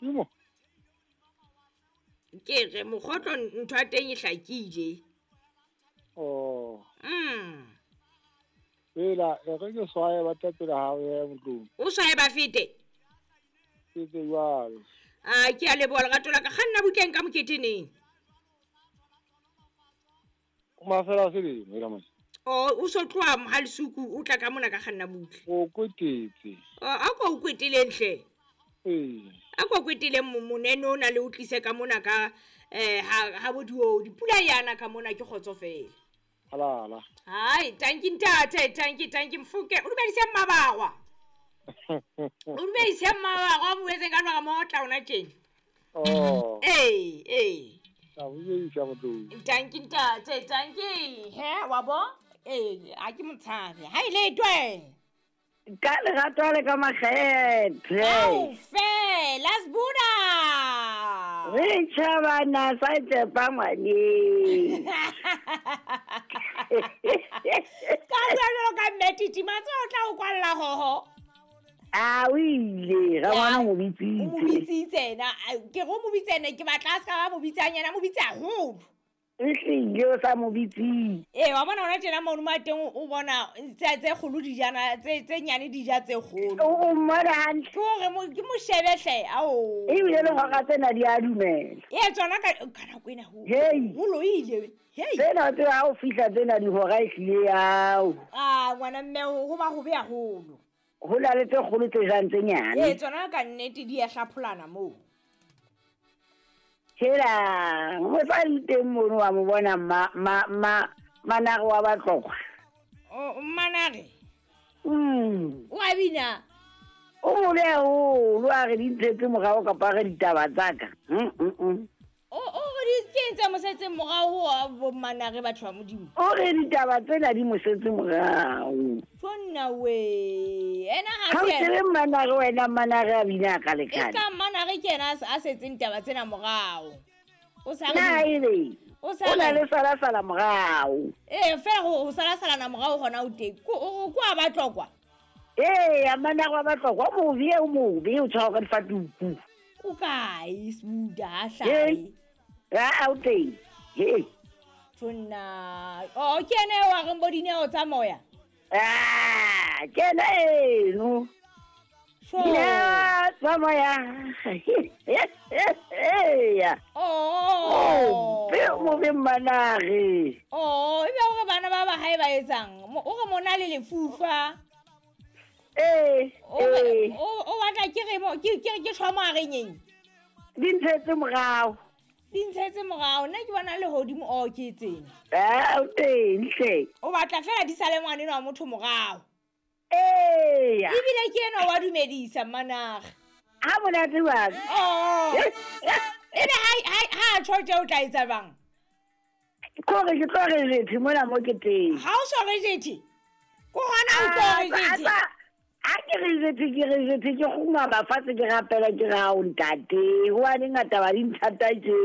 Timo. Ke re mokgotlo ntho ya teng e hlakile. Oh. Ela e re ke swaye ba tla pele ha ya motlong. O swaye ba fete. Ke tse jwalo. A ke a leboha lerato la ka kganna butleng ka moketeneng. Mafela a selemo ela mane. O o so tloha ha lesuku o tla ka mona ka kganna butle. O kwetetse. A ko o kweteleng hle. Ee. A ko kweteleng monene o na le o tlise ka mona ka ha bo diodi. Pula yana ka mona ke kgotsofela. Halala. Hai, tanki ntate, tanki tanki mfuke. O dumedise mmabagwa. O dumedise mmabagwa o buetseng ka lwa mo tla ona tjena. Oh. Ee, ee. A boedisa motlong. Tanki ntate, tanki. He, wa bo? Ee, a ke motshabe. Ha ile twe. Ka lerato le ka makgethe. Au fela Sbuda. Re tjhabana sa tsepa ngwaneng. Ka bua jwalo ka mme Titi matse o tla o kwalla hoho. A o ile ga ngwana o mo O mo bitsitse. bitsitse ena, ke re o mo bitse ene ke batla a se ka ba mo bitsang yena, mo bitse haholo. Ehlile o sa mo bitsitse. Ee, wa bona hona tjena mono mo teng o bona tse tse kgolo di jana tse tse nyane di ja tse kgolo. O mmona hantle. Ke hore ke mo shebe hle, ao. Ebile le hora tsena di a dumela. Ee, tsona ka nako ena ho. Hei. Ho loile. Hei. Tsena tse ha o fihla tsena dihora ehlile ao. Ah, ngwana mme ho ba hobe haholo. Ho na le tse kgolo tse jang tse nyane. Ee, tsona ka nnete di a hlapholana moo. Hela, mosadi teng mono wa mo bona ma ma ma manare wa Batlokwa. O manare. Mm. O a bina. O mobe haholo a re di ntshetse morao kapa a re ditaba tsa ka. O re di ke eng tse mo setseng morao ho bo manare batho ba Modimo? O re ditaba tsena di mo setse morao. Tjonna we. Ena ha Ha o se tsebe manare wena manare a bina ka E lekane. ska manare ke yena a setseng taba tsena morao. O sa Na ebe o sa o na le sala sala morao. Ee, fela ho sala salana morao hona o teng. Ko a Batlokwa. Ee, a manare wa Batlokwa o mobe o mobe o tshwara ka difatuku. O kae Sbuda ha hlahe? Ha o teng. Hei. Tjonna. Oh, ke ena eo a reng bo dineo tsa moya. Ah, ke ena eno. Sure. Dineo tsa moya. Oh. Be mobe manare. Oh, ebe hore bana ba ba hae ba etsang? O re mona le lefufa. Ee. O batla ke re mo ke ke ke tshwa mo a reng eng? Di ntshetse morao. Di ntshetse morao. Nna ke bona le hodimo o ke tsena. Ah, o teng hle. O batla fela di sale ngwana enwa wa motho morao. Ee. Ebile ke enwa wa dumedisa manare. Ha monate wa. Oh. Ebe ha tjho tje o tla etsa bang? Kore ke tlo re jethe mona mo ke teng. Ha o so re jethe? Ko hona o tlo re jethe? Ha ke re jethe ke re jethe ke kgumama fatshe ke rapela ke re hao ntate. Hobane ngata ba di nthata tje.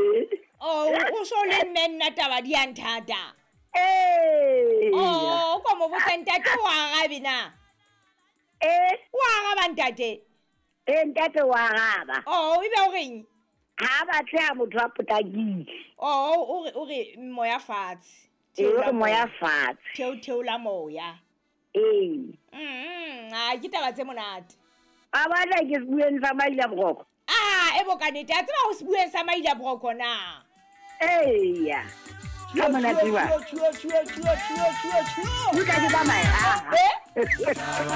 Oh, o so le mme nna taba di a nthata. Ee. Oh, o ko mo botsa ntate o arabe na? Eh. O araba ntate? Eh, ntate o araba. Oh, ebe o reng? Ha batle ha motho a potlakile. Oh, o re moya fatshe. Ee, moya fatshe. Theola moya. Ee. A ke taba tse monate. A batla ke sebueng sa Maila Broko. Ah, e bo ka nnete. A tseba ho sebueng sa Maila Broko na? Eya. Ka monate wa. Tjho, tjho, tjho, tjho, tjho, tjho. Utlwa ke tsamaya. Eh?